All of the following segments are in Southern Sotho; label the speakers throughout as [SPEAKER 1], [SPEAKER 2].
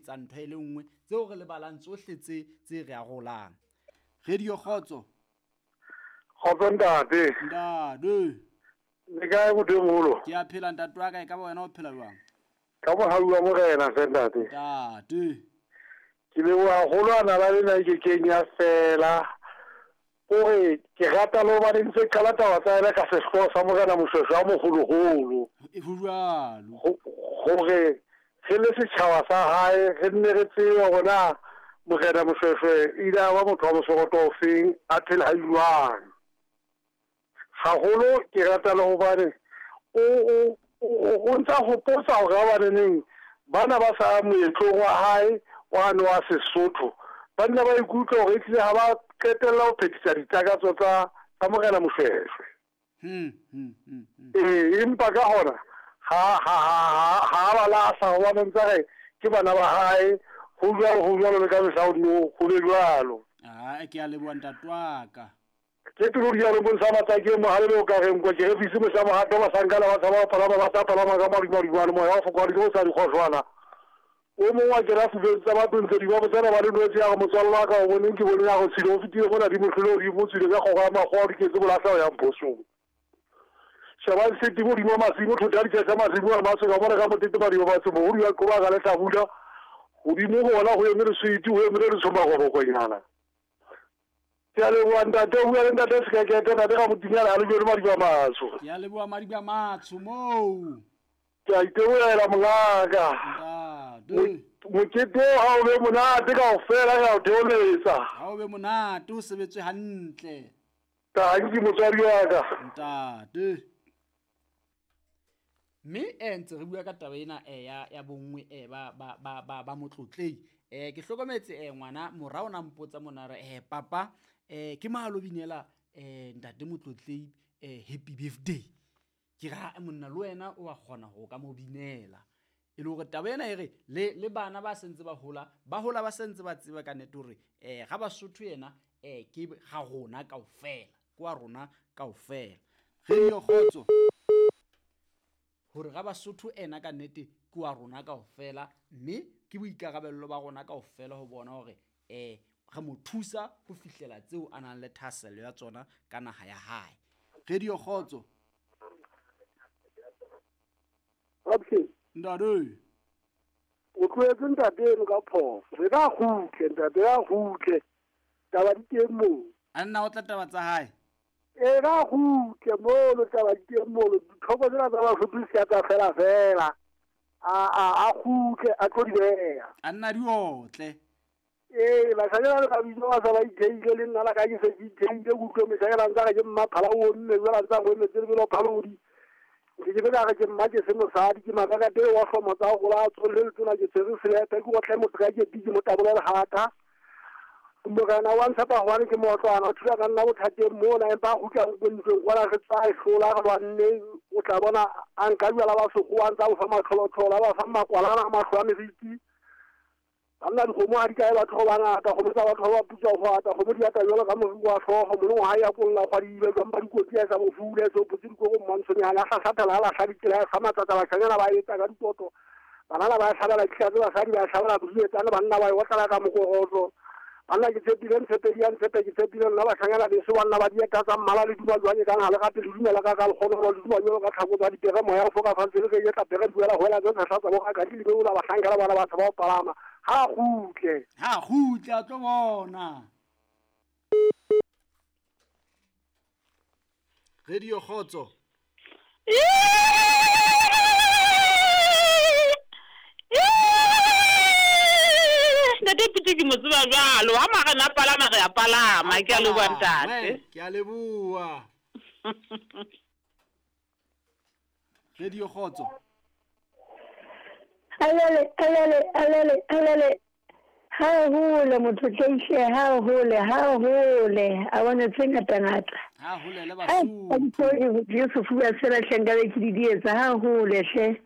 [SPEAKER 1] etsa ntho e le nngwe tseo re lebalang tsohle tse tse re arolang. Radio Kgotso.
[SPEAKER 2] Kgotso ntate.
[SPEAKER 1] Ntate.
[SPEAKER 2] Le kae motho e moholo?
[SPEAKER 1] Ke a phela ntate wa ka, e ka ba wena o phela jwang?
[SPEAKER 2] Ka mohau wa morena hle ntate.
[SPEAKER 1] Ntate.
[SPEAKER 2] Ke leboha haholo a nala lena e kekeng ya fela. Kore ke rata le hobane ntse qala taba tsa yena ka sehlooho sa morena Moshweshwe a moholoholo.
[SPEAKER 1] Ho jwalo.
[SPEAKER 2] Hore re le setjhaba sa hae re nne re tsebe hore na morena Moshweshwe ile a ba motho wa mosoroto ofeng, a phela jwang. Haholo ke rata le hobane o ntsa hopotsa hore habaneneng bana ba sa moetlong wa hae wane wa Sesotho ba nna ba ikutlwa hore ehlile ha ba qetella ho phethisa ditakatso tsa tsa morena Moshweshwe. Ee, empa ka hona ha ha ha ha ba lahla hobane ntsa re ke bana ba hae, ho jwalo ho jwalo le ka mehla ho nno ho be jwalo.
[SPEAKER 1] Ah, ke a leboha ntate wa ka.
[SPEAKER 2] Ke pelo dialo bontsha matsaki e mohale le o ka reng kwa ke re fise mohla mohato bahlankana ba tshaba ho palama ba tla palama ka madumadumane moya wa fokoga di sa dikgohlwana o mongwe wa kena fubeng tsa batho ntse di ba botsana ba le nwetse ya go motswallo wa ka o boneng ke boneng ya go tshile o fetile mona di mohlole o di mo tswile ka kgogo ya makgowa o di ketse bolahla o yang phosong shebang seti godimo masimo thota ditšhetša masimo a maso ka bona ka motete madiba batho mogodu ya qoba ka lehlabula godimo go bona go eme leswiti go eme le letshomakgobokonyana. Ke a leboha ntate, o bua le ntate Sekekete, ntate ga motinyana a le jone madiba matsho.
[SPEAKER 1] Ke a leboha madiba matsho moo.
[SPEAKER 2] Ke a itebohela mongaka.
[SPEAKER 1] Ntate.
[SPEAKER 2] Mokete o ha o be monate kaofela re a o theoletsa.
[SPEAKER 1] Ha o be monate o sebetswe hantle.
[SPEAKER 2] Tanki motswadi wa ka.
[SPEAKER 1] Ntate. Mme eh ntse re bua ka taba ena eh ya ya bonngwe eh ba ba ba ba ba motlotlei. Eh ke hlokometse eh ngwana mora o na mpotsa mona re eh papa eh ke mahalo binela eh ntate motlotlei eh happy birthday. Ke ra monna le wena o a kgona ho ka mo binela. E le hore taba ena e re le le bana ba sentse ba hola ba hola ba sentse ba tseba ka nnete hore eh ga Basotho yena eh ke ga rona kaofela. Ke wa rona kaofela. Radio Kgotso. Hore ga Basotho ena ka nnete ke wa rona kaofela mme ke boikarabello ba rona kaofela ho bona hore eh re mo thusa ho fihlela tseo a nang le thahasello ya tsona ka naha ya hae. Radio Kgotso.
[SPEAKER 2] Robson.
[SPEAKER 1] Ntate.
[SPEAKER 2] O tlohetse ntate eno ka phoso. Re ka kgutle ntate ya kgutle. Taba di teng moo.
[SPEAKER 1] A nna o tla taba tsa hae.
[SPEAKER 2] E ka kgutle mono taba di teng mono. Ditlhoko tsena tsa Basotho di se tsa fela fela. A kgutle a tlo di beha.
[SPEAKER 1] A nna di otle.
[SPEAKER 2] Ee, bashanyana le mabitso ba sa ba itheile le nna la ka ke se ke itheile ke utlwe meshanyana ntsa re ke mmaphala o mme jwale ntsa go emetse lebelo phalodi. Ke ke be re ke mma ke se mosadi ke makakate wa hlomo tsa go la tsolle le tsona ke tshwere selepe ke otle motho ka ke piki mo tabola lehata. Morena wa ntshepa hobane ke mootlwana o thula ka nna bothateng mona empa a kgutla ntlong kwana re tswa e hlola re lwanne o tla bona a nka jwala ba sekgowa ntsa bo fa matlholotlholo a ba fa makwalana a mahlo a meriti. Banna dikgomo ha di kae batho ba bangata kgomo tsa batho ba putswa ho ata kgomo di ata jwalo ka moriri wa hlooho molong ha ya kolla kgwadibe jwang ba dikotsi ya sa bofule so potse dikoko mmantshonyana a hlahlathela a lahla ditsela ya matsatsa bashanyana ba etsa ka dikoto banana ba hlabela ditlhatse basadi ba hlabela bodietsane banna ba e otlala ka mokokotlo banna ke tshepile ntshepedi ya ntshepe ke tshepile nna bashanyana beso banna ba dieta tsa mmala le duma jwang e kang ha le gape le dumela ka ka lekgono le duma jwalo ka tlhako tsa dipere moya o foka fatshe le re etla pere duela hoela tse tshehla tsa bo ka di lebeola bahlankela bana batho ba o palama ha kgutle
[SPEAKER 1] Ha kgutle a tlo bona. Radio Kgotso.
[SPEAKER 3] Ntate Pete ke mo tseba jwalo ha marena a palama re a palama ke a leboha ntate.
[SPEAKER 1] Ke a leboha. Radio Kgotso.
[SPEAKER 4] Alele, alele, alele, alele. Ha hole motho tleihle, ha hole, ha hole. A bone tse ngata ngata.
[SPEAKER 1] Ha hole le
[SPEAKER 4] Basotho. Ke sefuba sena hle nkabe ke di di etsa ha hole hle.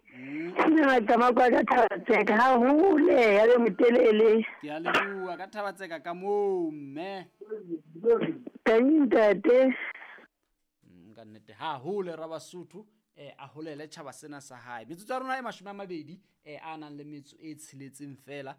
[SPEAKER 4] Nna Qamako ka Thabatseka ha hole ya be motelele.
[SPEAKER 1] Ke a leboha ka Thabatseka ka moo mme.
[SPEAKER 4] Teng ntate.
[SPEAKER 1] Ka nnete ha hole ra Basotho a holele tjhaba sena sa hae. Metsotso ya rona e 20 a nang le metso e tsheletseng fela.